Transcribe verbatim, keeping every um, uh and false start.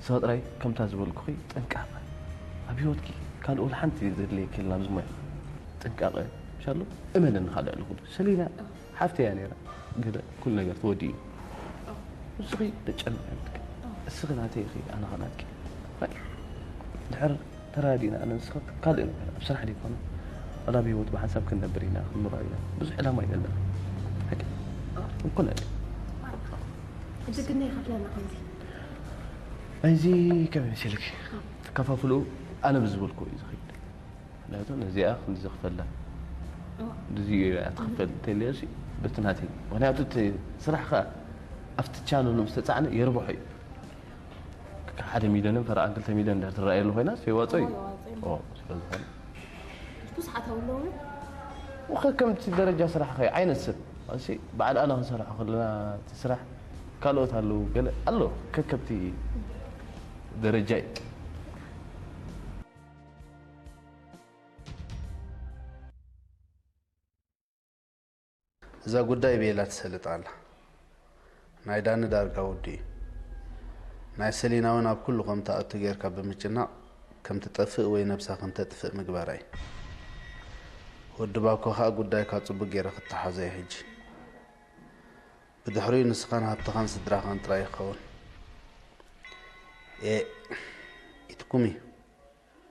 ሰጥራይ ከምታ ዝበልኩኺ ጥንቃቐ። ኣብ ህይወትኪ ካልእ ወላ ሓንቲ ዘድልየኪ የለን ኣብዚ ሞያ። ጥንቃቐ፣ ምሻሎ፣ እመነኒ ካልእ ልኹሉ። ሰሊና ሓፍተያ ነይራ፣ ገለ ኩሉ ነገር ተወዲኡ። ንስኺ ተጨንቂ የብልኪ። እስኺ ናተይ ኢኺ፣ ኣነ ኸ ናትኪ። ራይ፣ ድሕር ተራዲእና ኣነ ንስኺ ካልእ ነገር፣ ኣብ ስራሕ ደይኮነ፣ ዋላ ኣብ ህይወት ብሓንሳብ ክንነብር ኢና፣ ክንኖር ኢና። ብዙሕ ዕላማ እዩ ዘለና። ሓቂ? እንኮ ናይ ሕጂ ግን ይኸፍለና ከምዚ። ናይዚ ከመይ መሲልኪ? ትከፋፍሉ ኣነ ብዝበልኩ እዩ ዝኸይድ። ምክንያቱ ነዚኣ ክንዚ ክፈላ። እዋ። እዚ እያ ትኽፈል እንተልያሲ በቲ ናተይ። ምክንያቱ እቲ ስራሕ ከኣ ኣብቲ ቻነሉ ምስ ተጻዕነ የርብሖ እዩ። ሓደ ሚልዮንን ፈረቓን ክልተ ሚልዮን እንድሕር ትረኣየሉ ኮይና፣ የዋጽኦ እዩ። እዋ፣ የዋጽኦ እዩ። ኦ፣ ስለ ዝኾነ። ብዙሓት ኣለዉ። ወኸከምቲ ደረጃ ስራሕ ኸ ዓይነት ሰብ። እሺ፣ በዓል ኣነ ክንሰርሖ ከለና እቲ ስራሕ ካልኦት ኣለዉ፣ ገለ ኣሎ። ከከምቲ ደረጃ እዩ። እዛ ጉዳይ ቤላ ትሰልጥ ኣላ። ናይ ዳኒ ዳርጋ ውዱ እዩ። ናይ ሰሊና እውን ኣብ ኩሉ ከም ትኣቱ ጌርካ ብምጭናቕ ከም ትጠፍእ ወይ ነብሳ ከም ተጥፍእ ምግባራ እዩ። ወዲ ባኮ ከኣ ጉዳይካ ጽቡቅ ጌረ ክተሓዞ እዩ ሕጂ። ብድሕሪኡ ንስኻን ሃብትኻን ስድራኻን ጥራይ ይኸውን። ኤእ፣ ኢትኩም እዩ።